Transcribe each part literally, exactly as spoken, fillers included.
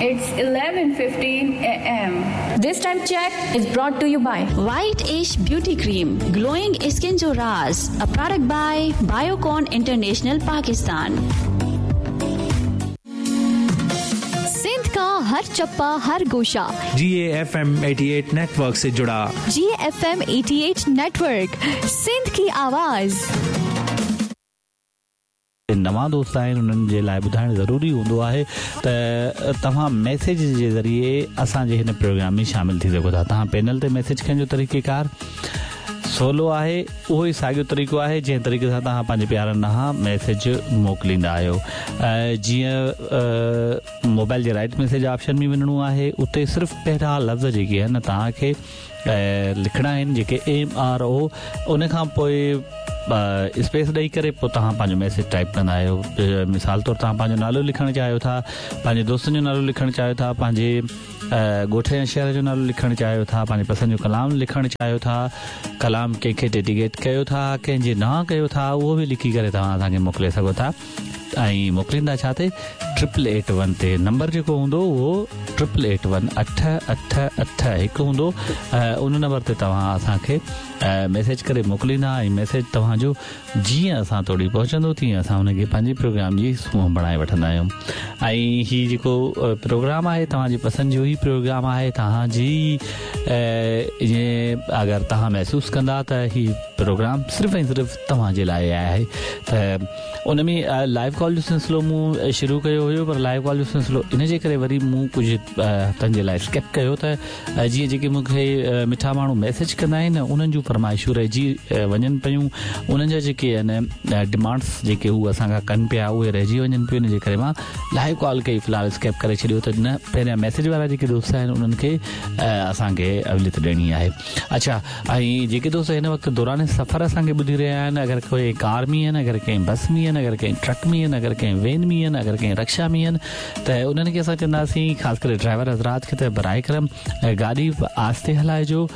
It's eleven fifteen A M. This time check is brought to you by White Ash Beauty Cream, glowing skin जो राज, a product by Biocon International Pakistan. Sindh का हर चप्पा हर गोशा G A F M अठासी network से जुड़ा। G F M अठासी network, Sindh की आवाज़। नवां दोस्त आहिनि उन्हनि जे लाइ ॿुधाइणु ज़रूरी हूंदो आहे त तव्हां मैसेज जे ज़रिए असांजे हिन प्रोग्राम में शामिल थी सघो था। तव्हां पैनल ते मैसेज करण जो तरीक़ेकार सोलो आहे, उहो ई साॻियो तरीक़ो आहे जंहिं तरीक़े सां तव्हां पंहिंजे प्यारनि ॾांहुं मैसेज मोकिलींदा आहियो। जीअं मोबाइल जे राइट मैसेज ऑप्शन में वञिणो आहे, उते सिर्फ़ु पहिरियां लफ़्ज़ जेके आहिनि तव्हांखे लिखणा आहिनि जेके एम आर ओ, उन खां पोइ स्पेस ॾेई करे पोइ तव्हां पंहिंजो मैसेज टाइप कंदा आहियो। मिसाल तौरु तव्हां पंहिंजो नालो लिखणु चाहियो था, पंहिंजे दोस्तनि जो नालो लिखणु चाहियो था, पंहिंजे ॻोठ या शहर जो नालो लिखणु चाहियो था, पंहिंजे पसंदि जो कलाम लिखणु चाहियो था, कलाम कंहिंखे डेडिकेट कयो था, कंहिंजे नां कयो था, उहो बि लिखी करे तव्हां असांखे मोकिले सघो था। ऐं मोकिलींदा छा ते ट्रिपल एट वन ते नंबर जेको हूंदो उहो ट्रिपल एट वन अठ अठ अठ हिकु हूंदो। उन नंबर ते तव्हां असांखे मैसेज करे मोकिलींदा ऐं मैसेज तव्हांजो जीअं असां तोड़ी पहुचंदो तीअं असां हुनखे पंहिंजे प्रोग्राम जी सूंहं बणाए वठंदा आहियूं। ऐं हीउ जेको प्रोग्राम आहे तव्हांजी पसंदि जो ई प्रोग्राम आहे। तव्हांजी ईअं अगरि तव्हां महसूसु कंदा त हीउ प्रोग्राम सिर्फ़ु ऐं सिर्फ़ु तव्हांजे लाइ आहे। त उन में लाइव कॉल जो सिलसिलो मूं शुरू कयो हुयो, पर लाइव कॉल जो सिलसिलो इन जे करे वरी मूं कुझु हफ़्तनि जे लाइ स्किप कयो त जीअं जेके मूंखे मिठा माण्हू मैसेज कंदा आहिनि उन्हनि जूं फरमाइशूं रहिजी वञनि पयूं, उन्हनि जा जेके आहिनि डिमांड्स जेके हू असां खां कनि पिया उहे रहिजी वञनि पियूं। इन जे करे मां लाइव कॉल खे फ़िलहालु स्किप करे छॾियो त न पहिरियां मैसेज वारा जेके दोस्त आहिनि उन्हनि खे असांखे अवलियत ॾियणी आहे। अच्छा, ऐं जेके दोस्त हिन वक़्तु दौरान सफ़र असांखे ॿुधी रहिया आहिनि, अगरि कोई कार में आहिनि, अगरि कंहिं बस में आहिनि, अगरि कंहिं ट्रक में आहिनि, अगरि कंहिं वैन में आहिनि, अगरि कंहिं रिक्शा में आहिनि, त उन्हनि खे असां चवंदासीं ख़ासि करे ड्राइवर हज़रात खे त बराए करम गाॾी आहिस्ते हलाइजो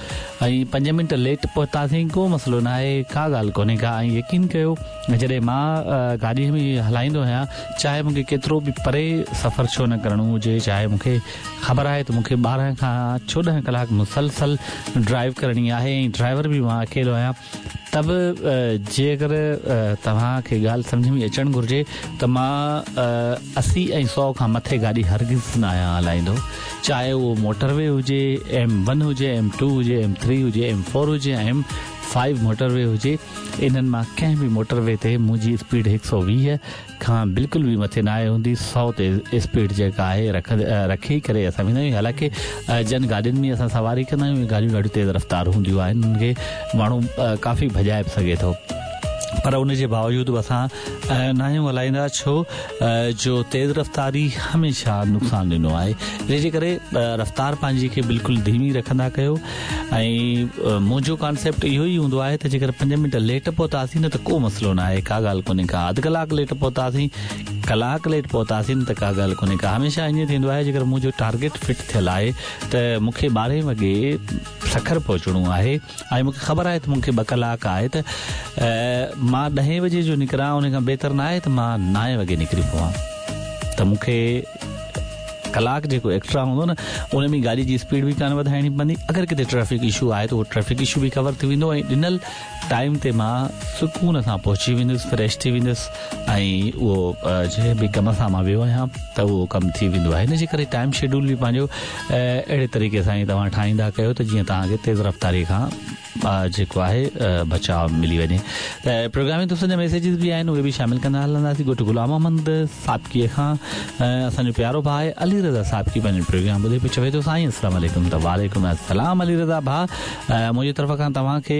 ऐं पंज मिंट लेट पहुतासीं को मसइलो न आहे, का ॻाल्हि कोन्हे का। ऐं यकीन कयो जॾहिं मां गाॾीअ में हलाईंदो आहियां, चाहे मूंखे केतिरो बि परे सफ़र छो न करिणो हुजे, चाहे मूंखे ख़बर आहे त मूंखे ॿारहं खां चोॾहं कलाक मुसलसल ड्राइव करणी आहे ऐं ड्राइवर बि मां अकेलो आहियां, तब जेकर तव्हांखे ॻाल्हि सम्झ में अचणु घुरिजे त मां असी ऐं सौ खां मथे गाॾी हरगिज़ न आहियां हलाईंदो, चाहे उहो मोटरवे हुजे, एम वन हुजे, एम टू हुजे, एम थ्री हुजे, एम फोर हुजे, एम फाइव मोटरवे हुजे, इन्हनि मां कंहिं बि मोटरवे ते मुंहिंजी स्पीड हिकु सौ वीह खां बिल्कुलु बि मथे न आहे हूंदी। सौ ते स्पीड जेका आहे रख रखी करे असां वेंदा आहियूं। हालांकि जन गाॾियुनि में असां सवारी कंदा आहियूं, उहे गाॾियूं ॾाढियूं तेज़ रफ़्तार हूंदियूं आहिनि, उन्हनि खे माण्हू काफ़ी भॼाए बि सघे थो, पर उन जे बावजूदि बि असां न आहियूं हलाईंदा, छो जो तेज़ रफ़्तारी हमेशह नुक़सानु ॾिनो आहे। इन जे करे रफ़्तार पंहिंजी खे बिल्कुलु धीमी रखंदा कयो। ऐं मुंहिंजो कॉन्सेप्ट इहो ई हूंदो आहे त जेकर पंज मिंट लेट पहुतासीं न त को मसइलो न आहे, का ॻाल्हि कोन्हे का। अधु कलाकु लेट पहुतासीं, कलाकु लेट पहुतासीं न त का ॻाल्हि कोन्हे का। हमेशह ईअं थींदो आहे जेकर मुंहिंजो टारगेट फिट थियल आहे त मूंखे ॿारहें वॻे सखर पहुचणो आहे ऐं मूंखे ख़बर आहे त मूंखे ॿ कलाक आहे त मां ॾहें बजे जो निकिरां उन खां बहितर न आहे त मां नाए वॻे निकिरी पवां, त मूंखे कलाक जेको एक्स्ट्रा हूंदो न उन में गाॾी जी स्पीड बि कान वधाइणी पवंदी। अगरि किथे ट्रैफिक इशू आहे त उहो ट्रैफिक इशू बि कवर थी वेंदो ऐं ॾिनल टाइम ते मां सुकून सां पहुची वेंदुसि, फ्रेश थी वेंदुसि ऐं उहो जंहिं बि कम सां मां वियो आहियां त उहो कमु थी वेंदो आहे। हिन जे करे टाइम शेड्यूल बि पंहिंजो अहिड़े तरीक़े सां ई तव्हां ठाहींदा कयो त जीअं तव्हांखे तेज़ रफ़्तारी खां जेको आहे बचाव मिली वञे। त प्रोग्राम में दोस्तनि जा मैसेजिस बि आहिनि, उहे बि शामिल कंदा हलंदासीं। ॻोठु ग़ुलाम मोहम्मद साबिकीअ खां असांजो प्यारो भाउ आहे अली रज़ा साबिकी पंहिंजो प्रोग्राम ॿुधे पियो, चवे थो साईं अस्सलाम वालेकुम। त वालेकुम अस्सलाम अली रज़ा भाउ, मुंहिंजी तरफ़ खां तव्हांखे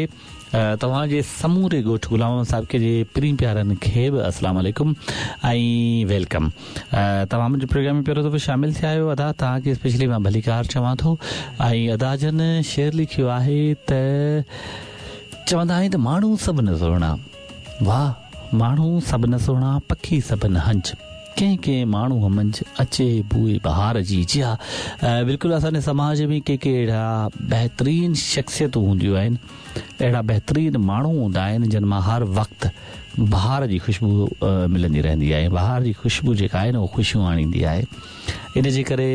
तव्हांजे समूरे ॻोठु ग़ुलाम मोहम्मद साहिब जे प्रीम प्यारनि खे बि अस्सलाम वालेकुम ऐं welcome. तव्हां मुंहिंजे प्रोग्राम में पहिरियों दफ़ो शामिल थिया आहियो अदा, तव्हांखे स्पेशली मां भलीकार चवां थो। ऐं अदा जन शेर लिखियो आहे त चवंदा आहिनि त माण्हू सभु न सुहिणा, वाह माण्हू सभु न सुहिणा, पखी सभु न हंज, कंहिं कंहिं माण्हू मंझि अचे बूए बहार जी। जी हा, बिल्कुलु असांजे समाज में के के अहिड़ा बहितरीन शख़्सियतूं हूंदियूं आहिनि, अहिड़ा बहितरीन माण्हू हूंदा आहिनि जिन मां हर वक़्तु बहार जी ख़ुशबू मिलंदी रहंदी आहे। बहार जी ख़ुशबू जेका आहे न उहो ख़ुशियूं आणींदी आहे। इन जे करे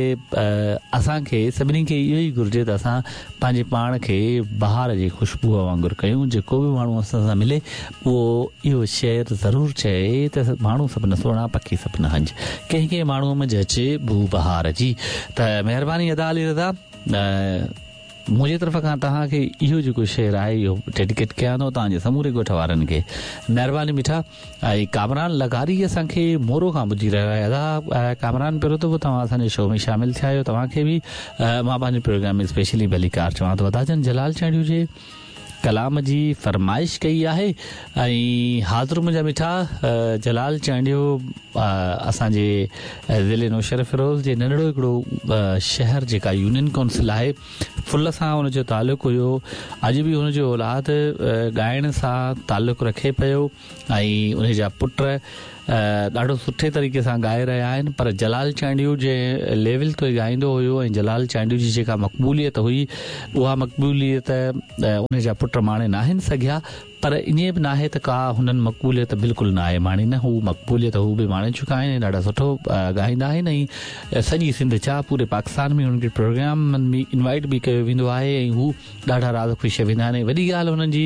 असांखे सभिनी खे इहो ई घुरिजे त असां पंहिंजे पाण खे बहार जी ख़ुशबूअ वांगुरु कयूं। जेको बि माण्हू असां सां मिले उहो इहो शेर ज़रूरु चए त माण्हू सभु न सुहिणा पखी सभु न हंज, कंहिं कंहिं माण्हूअ में अचे बू बहार जी। त महिरबानी अदा अली रज़ा, मुंहिंजे तरफ़ खां तव्हांखे इहो जेको शेर आहे इहो डेडिकेट कयां थो तव्हांजे समूरे ॻोठ वारनि खे। महिरबानी मिठा। ऐं कामरान लगारी असांखे मोरो खां ॿुधी रहियो आहे। अदा कामरान, पहिरियों दफ़ो तव्हां असांजे शो में शामिल थिया आहियो, तव्हांखे बि मां पंहिंजे प्रोग्राम में स्पेशली भलीकार चवां थो। अदा जन जलाल चांडियो जे कलाम जी फरमाइश कई आहे ऐं हाज़िर मुंहिंजा मिठा जलाल चांडियो असांजे ज़िले नौशहर फिरोज़ जे नंढड़ो हिकिड़ो शहर जेका यूनियन काउंसिल आहे फुल सां हुनजो तालुक़ हुयो। अॼु बि हुनजो औलाद ॻाइण सां तालुक़ रखे पियो ऐं उन जा पुट ॾाढो सुठे तरीक़े सां ॻाए रहिया आहिनि। पर जलाल चांडियो जे लेवल ते ॻाईंदो हुयो ऐं जलाल चांडियो जी जेका मक़बूलियत हुई उहा मक़बूलियत उन जा पुट माणे नाहिनि सघिया। पर ईअं बि नाहे त का हुननि मक़बूलियत बिल्कुलु न आहे माणी, न हू मक़बूलियत हू बि माणे चुका आहिनि ऐं ॾाढा सुठो ॻाईंदा आहिनि ऐं सॼी सिंध छा पूरे पाकिस्तान में हुननि खे प्रोग्रामनि में इनवाइट बि कयो वेंदो आहे ऐं हू ॾाढा राज़ ख़ुशि वेंदा आहिनि। वॾी ॻाल्हि हुननि जी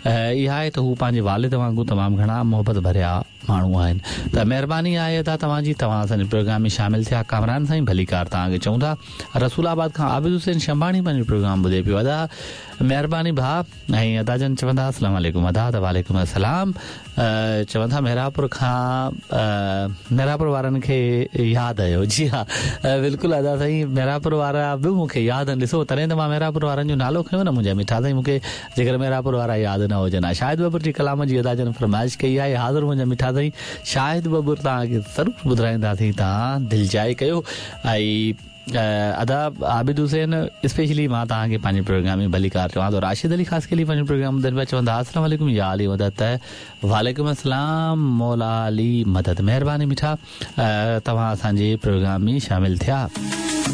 इहा आहे त हू पंहिंजे वालिद वांगुरु तमामु घणा मोहबत भरिया माण्हू आहिनि। त महिरबानी आहे अदा तव्हांजी, तव्हां असांजे प्रोग्राम में शामिल थिया। कामरान साईं भलीकार तव्हांखे चऊं था। रसूलाबाद खां आबिद हुसैन शंबाणी पंहिंजो प्रोग्राम ॿुधे पियो। अदा महिरबानी भाउ। ऐं अदा जन चवंदा अस्सलाम वालेकुम। अदा त वालेकुम अस्सलाम। चवनि था मेहरापुर खां मेहरापुर वारनि खे यादि आयो। जी हा बिल्कुलु अदा साईं, मेहरापुर वारा बि मूंखे यादि आहिनि। ॾिसो तॾहिं त मां मेहरापुर वारनि जो नालो खयो न मुंहिंजा मिठा साईं, मूंखे जेकर मेहरापुर वारा यादि न हुजनि हा। शाहिद बबुर जी कलाम जी अदा जन फरमाइश कई आहे। हाज़िर मुंहिंजा मिठा साईं, शाहिद बबुर तव्हांखे ज़रूरु ॿुधाईंदासीं, तव्हां दिलजाए कयो। ऐं अदा आबिद हुसैन स्पेशली मां तव्हांखे पंहिंजे प्रोग्राम में भलीकार चवां थो। राशिद अली ख़ासि खे पंहिंजो प्रोग्राम ॿुधनि पिया, चवंदा अस्सलाम वालेकुम या अली मदद। वालेकुम अस्सलाम मौला अली मदद। महिरबानी मिठा, तव्हां असांजे प्रोग्राम में शामिल थिया।